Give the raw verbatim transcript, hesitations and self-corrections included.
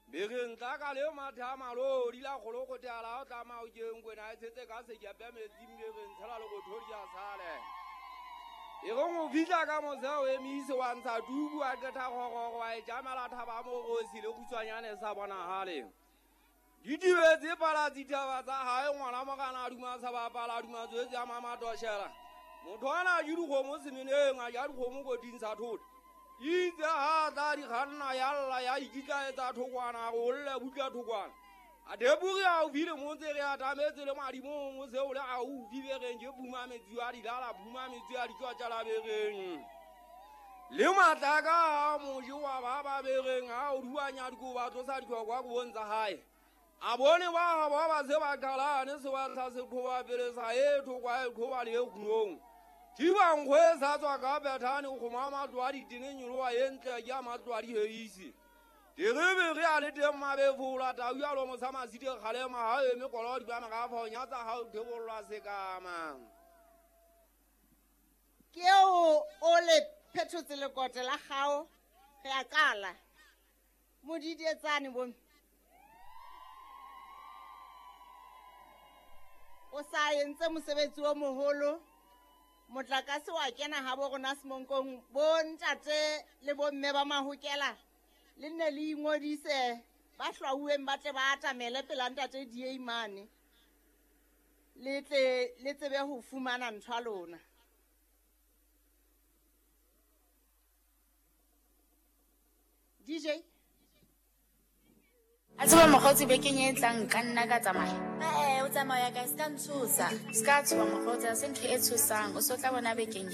Bereng tla ka le mathe a malodi la kgolokote a la o tla o ke nkwena e tshetse ka sekepe metsing bereng tshela le bothodi a sale. E reng o fihla ka mose o emise wa ntsha tubu a qeta kgororo wa e jamela thaba morosi le kgutshwanyane sa bonahale. Di tibetse pala ditaba tsa hae ngwana morana a duma sa bapala a duma tswetse a mamatoshela. Motho ana a je dikgomo semeneng a ja dikgomo koting sa thota. Itse ha tla di kganna ya lla ya ikitlaetsa thokwana go lle butla thokwana. A deburi haufi le motse re atametse le madimong o se o le haufi bereng ke phuma metsi a dilala phuma metsi a ditswa bereng. Le matlaka a moji wa ba ba bereng ha o duanya dikoba tlosa ditlhokwa kobong tsa hae. A bone ba ba ba se ba qalane se ba tla se qhoba pele sa e thokwa e qhoba le e kgunong. Thiba nkgwe sa tswa ka Bethane go kgoma matlo a ditene nyoloa e ntle ke a matlo a diheisi. Terebe re a le teng mabefola tau ya lomo sa masite kgalema ha eme kolo di ba merafa ho nyatsa ha o thebollwa sekama. Ke eo o le phethotse lekote la gao re a qala. Modidietsane bo. O sa entse mosebetsi o moholo. Motlakase wa kena ha bo rona Semonkong bo ntate le bo mme ba Mahokela le nne le ingodise ba hlwauweng ba tle ba atamele pela ntate D A mane le tle le tsebe ho fumana ntho ya lona. D J A tseba mokgotsi bekeng e tlang ka nna ka tsamaya. Eh, o tsamaya ka se ka ntshosa. Se ka tshoha mokgotsi, ha se ntho e tshosang. O so tla bona bekeng